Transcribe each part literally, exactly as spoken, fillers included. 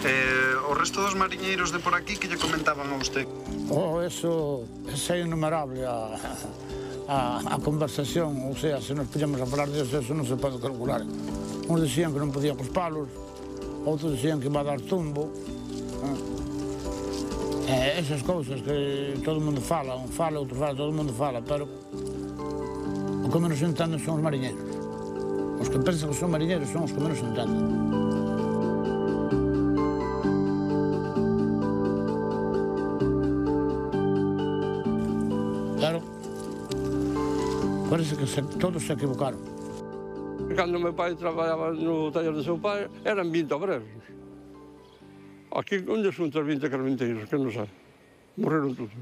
Eh, o resto dos mariñeiros de por aquí, que lle comentaban a usted? Oh, eso é innumerable a, a, a conversación, ou sea, se nos podíamos a falar disso, eso non se pode calcular. Uns dicían que non podían cos palos, outros dicían que iba a dar tumbo. Eh, esas cousas que todo o mundo fala, un fala, outro fala, todo o mundo fala, pero o que menos entenden son os mariñeiros. Os que pensan que son mariñeiros son os que menos entenden. Claro, parece que se, todos se equivocaron. Cando meu pai traballaba no taller do seu pai, eran vinte obreros. Aquí, onde son os vinte carpinteiros, que non sabe? Morreron todos.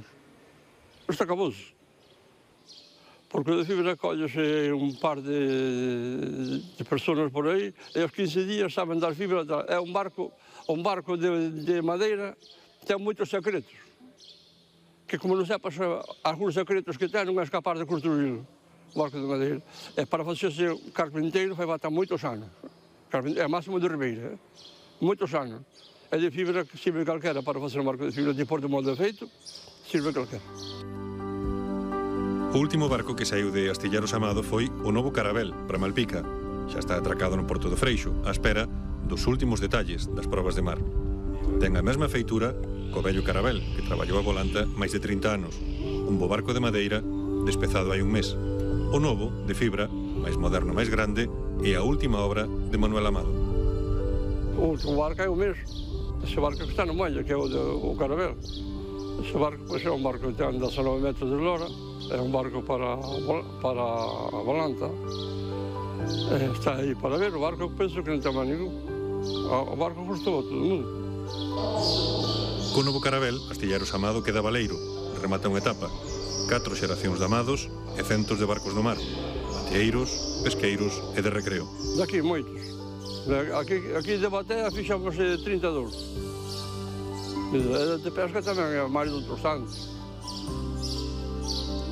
Isto acabouse. Porque de fibra collese un par de, de personas por aí e aos quince días saben dar fibra. É un barco, un barco de, de madeira, ten moitos secretos. Que como non sepas algúns secretos que ten, non és capaz de construir o barco de madeira. E para facerse carpinteiro fai falta moitos anos. É máximo de Ribeira, eh? moitos anos. É de fibra que sirve calquera para facer un barco de fibra. Depois do molde feito, sirve calquera. O último barco que saiu de Astilleros Amado foi o novo Carabel, para Malpica. Xa está atracado no Porto do Freixo, á espera dos últimos detalles das probas de mar. Ten a mesma feitura co vello Carabel, que traballou a volanta máis de trinta anos. Un bo barco de madeira, despezado hai un mes. O novo, de fibra, máis moderno, máis grande, e a última obra de Manuel Amado. O último barco é o mesmo. Ese barco que está no muelle, que é o, de, o Carabel. Ese barco pois, é un barco que ten dezanove metros de lora. É un barco para, para a volanta. Eh, está aí para ver. O barco penso que non ten máis ningún. O barco gustou a todo o mundo. Co novo Carabel, Astilleros Amado queda baleiro. Remata unha etapa. Catro xeracións de amados e centos de barcos do mar. Mateeiros, pesqueiros e de recreo. Daqui moitos. Aquí, aquí de batea fixamos trinta e dous. De pesca tamén é máis de outros anos.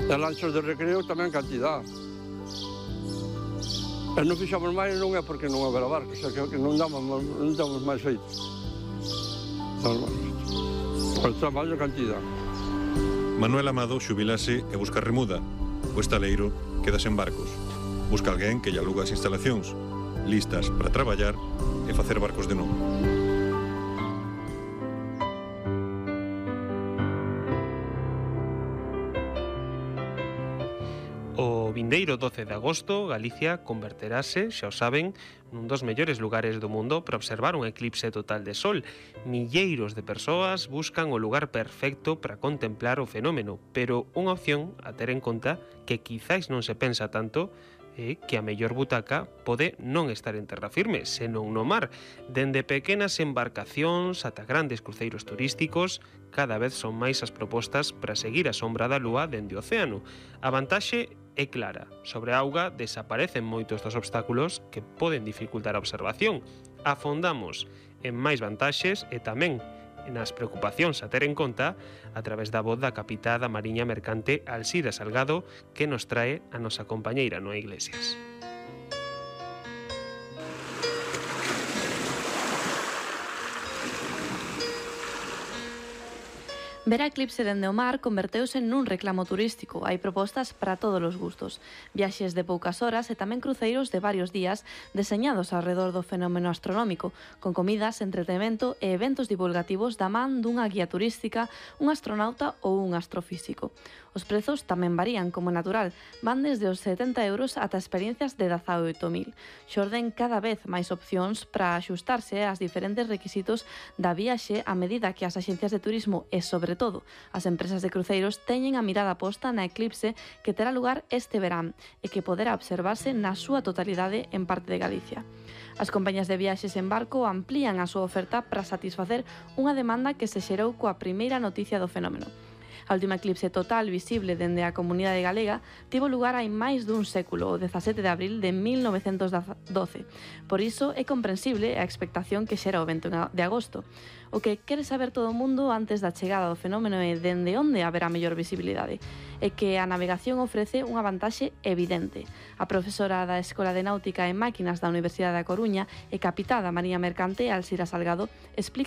E lanchas de recreo tamén cantidad. E non fixamos máis non é porque non haberá barcos, é que non damos, non damos máis feitos. Damos máis feitos. Pero está máis de cantidad. Manuel Amado xubilase e busca remuda. O estaleiro queda sen barcos. Busca alguén que lle aluga as instalacións, listas para traballar e facer barcos de novo. O vindeiro doce de agosto, Galicia converterase, xa o saben, nun dos mellores lugares do mundo para observar un eclipse total de sol. Milleiros de persoas buscan o lugar perfecto para contemplar o fenómeno, pero unha opción a ter en conta que quizáis non se pensa tanto é que a mellor butaca pode non estar en terra firme, senón no mar. Dende pequenas embarcacións ata grandes cruceiros turísticos, cada vez son máis as propostas para seguir a sombra da lúa dende o océano. A vantaxe é clara. Sobre a auga desaparecen moitos dos obstáculos que poden dificultar a observación. Afondamos en máis vantaxes e tamén nas preocupacións a ter en conta a través da voz da capitá da Mariña Mercante Alsira Salgado, que nos trae a nosa compañeira Noa Iglesias. Ver a eclipse dende o mar converteuse nun reclamo turístico. Hai propostas para todos os gustos. Viaxes de poucas horas e tamén cruceiros de varios días deseñados alrededor do fenómeno astronómico, con comidas, entretenimento e eventos divulgativos da man dunha guía turística, un astronauta ou un astrofísico. Os prezos tamén varían, como natural. Van desde os setenta euros ata experiencias de dezaoito mil. Xorden cada vez máis opcións para axustarse ás diferentes requisitos da viaxe a medida que as axencias de turismo e, sobre todo, as empresas de cruceiros teñen a mirada posta na eclipse que terá lugar este verán e que poderá observarse na súa totalidade en parte de Galicia. As compañías de viaxes en barco amplían a súa oferta para satisfacer unha demanda que se xerou coa primeira noticia do fenómeno. A última eclipse total visible dende a comunidade galega tivo lugar hai máis dun século, o dezasete de abril de mil novecentos doce. Por iso é comprensible a expectación que xera o vento de agosto. O que quere saber todo o mundo antes da chegada do fenómeno é dende onde haberá mellor visibilidade. É que a navegación ofrece unha vantaxe evidente. A profesora da Escola de Náutica e Máquinas da Universidade da Coruña e capitá da Mariña Mercante, Alsira Salgado, explica